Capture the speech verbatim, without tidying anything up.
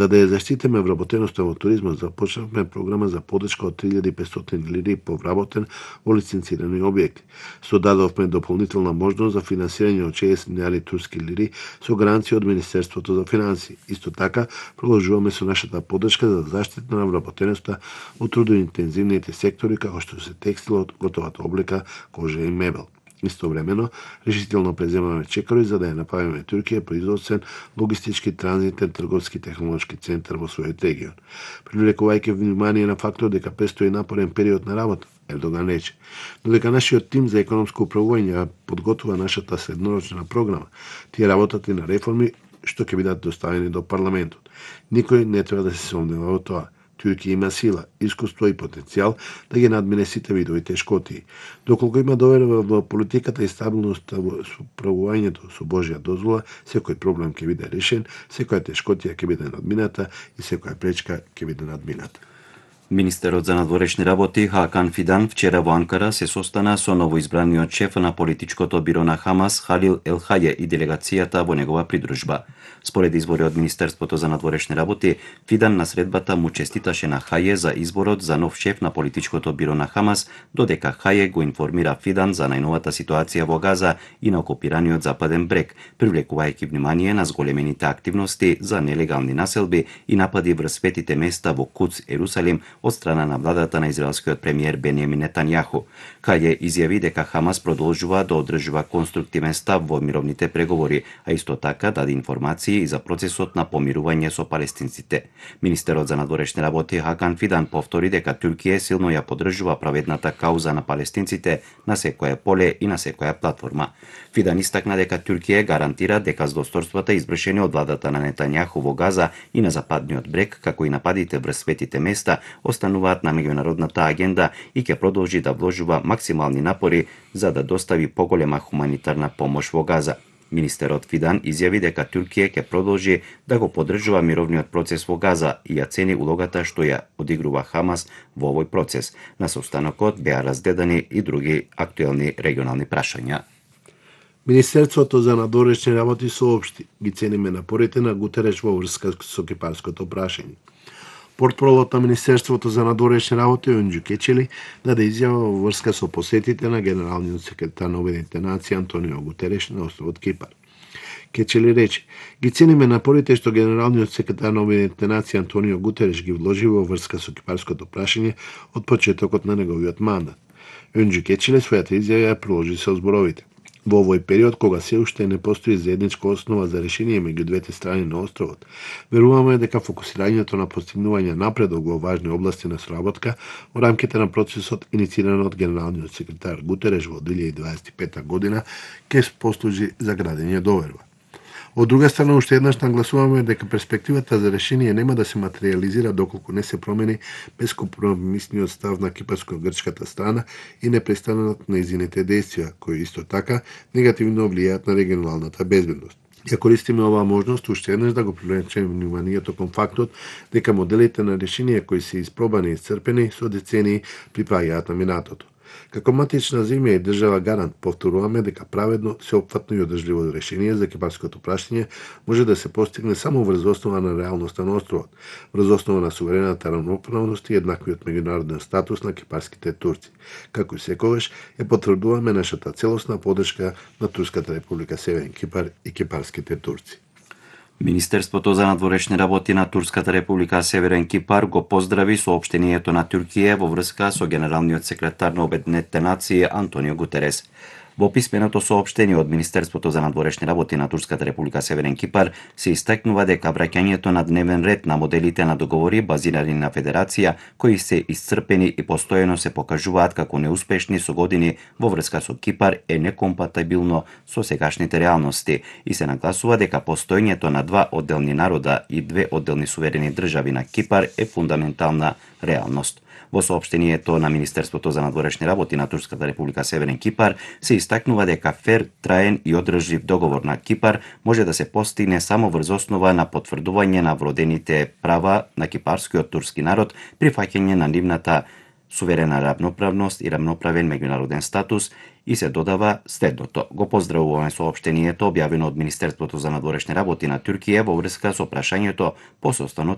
За да ја заштитиме вработеноста во туризмот, започнавме програма за подршка од три илјади и петстотини лири по вработен во лиценцирани објекти. Содадовме дополнителна можност за финансирање од шеесет милијарди турски лири со гаранција од Министерството за финансии. Исто така, продолжуваме со нашата подршка за заштита на вработеноста во трудоинтензивните сектори како што се текстилот, готовата облека, кожа и мебел. Истовремено, решително преземаме чекори за да ја направиме Туркија производствен, логистички, транзитен, трговски и технолошки центар во својот регион. Привлекувајќи внимание на фактор дека престои напорен период на работа, Ердоган рече, додека нашиот тим за економско управување ја подготвува нашата среднорочна програма, тие работат и на реформи што ќе бидат доставени до парламентот. Никој не треба да се сомнева во тоа. Туркија има сила, искуство и потенцијал да ги надмине сите видови тешкотии. Доколку има доверба во политиката и стабилност во справувањето со Божја дозвола, секој проблем ќе биде решен, секоја тешкотија ќе биде надмината и секоја пречка ќе биде надмината. Министерот за надворешни работи Хакан Фидан вчера во Анкара се состана со новоизбраниот шеф на политичкото биро на Хамас Халил Ел Хаје и делегацијата во негова придружба. Според извори од Министерството за надворешни работи, Фидан на средбата му честиташе на Хаје за изборот за нов шеф на политичкото биро на Хамас, додека Хаје го информира Фидан за најновата ситуација во Газа и на окупираниот Западен брег, привлекувајќи внимание на зголемените активности за нелегални населби и напади врз светите места во Куц, Ерусалим, од страна на владата на израелскиот премиер Бенјамин Нетањаху. Хаје изјави дека Хамас продолжува да одржува конструктивен став во мировните преговори, а исто така даде информации и за процесот на помирување со палестинците. Министерот за надворешни работи Хакан Фидан повтори дека Туркија силно ја поддржува праведната кауза на палестинците на секое поле и на секоја платформа. Фидан истакна дека Туркија гарантира дека злосторствата извршени од владата на Нетањаху во Газа и на Западниот брег, како и нападите врз светите места, остануваат на меѓународната агенда и ќе продолжи да вложува максимални напори за да достави поголема хуманитарна помош во Газа. Министерот Фидан изјави дека Туркија ќе продолжи да го поддржува мировниот процес во Газа и ја цени улогата што ја одигрува Хамас во овој процес. На состанокот беа разгледани и други актуелни регионални прашања. Министерството за надворешни работи соопшти, ги цениме напорите на Гутереш во врска со кипарското прашање. Портпролот на Министерството за надворешни работи Унџу Кечели даде изјава во врска со посетите на генералниот секретар на Обединетите нации Антонио Гутереш на островот Кипар. Кечели рече: ги цениме напорите што генералниот секретар на Обединетите нации Антонио Гутереш ги вложи во врска со кипарското прашање од почетокот на неговиот мандат. Унџу Кечели својата изјава ја приложи со зборовите: во овој период, кога се уште не постои заедничка основа за решение меѓу двете страни на островот, веруваме дека фокусирањето на постигнување напредок во важни области на соработка во рамките на процесот иницииран од генералниот секретар Гутереш во две илјади дваесет и пета година ќе послужи за градење доверба. Од друга страна, уште еднаш нагласуваме дека перспективата за решение нема да се материализира доколку не се промени бескомпромисниот став на кипарско-грчката страна и непрестанот на нејзините действија, кои исто така негативно влијаат на регионалната безбедност. Ја користиме оваа можност уште еднаш да го привлечеме вниманието кон фактот дека моделите на решение кои се испробани и исцрпени со децении припаѓаат на минатото. Како матична земја и држава гарант повторуваме дека праведно, сеопфатно и одржливо решение за кипарското прашање може да се постигне само врз основа на реалноста на островот, врз основа на суверената рамноправност и еднаквиот меѓународен статус на кипарските турци. Како и секогаш, ја потврдуваме нашата целосна поддршка на Турската република Северен Кипар и кипарските турци. Министерството за надворешни работи на Турската република Северен Кипар го поздрави соопштението на Туркија во врска со генералниот секретар на Обединетите нации Антонио Гутерес. Во писменото соопштение од Министерството за надворешни работи на Турската република Северен Кипар се истакнува дека враќањето на дневен ред на моделите на договори базирани на федерација, кои се исцрпени и постојано се покажуваат како неуспешни со години во врска со Кипар, е некомпатибилно со сегашните реалности и се нагласува дека постоењето на два одделни народа и две одделни суверени држави на Кипар е фундаментална реалност. Во соопштението на Министерството за надворешни работи на Турската република Северен Кипар се истакнува дека фер, траен и одржлив договор на Кипар може да се постигне само врз основа на потврдување на вродените права на кипарскиот турски народ, прифаќање на нивната суверена рамноправност и рамноправен меѓународен статус, и се додава следното. Го поздравуваме соопштението објавено од Министерството за надворешни работи на Туркија во врска со прашањето по состанот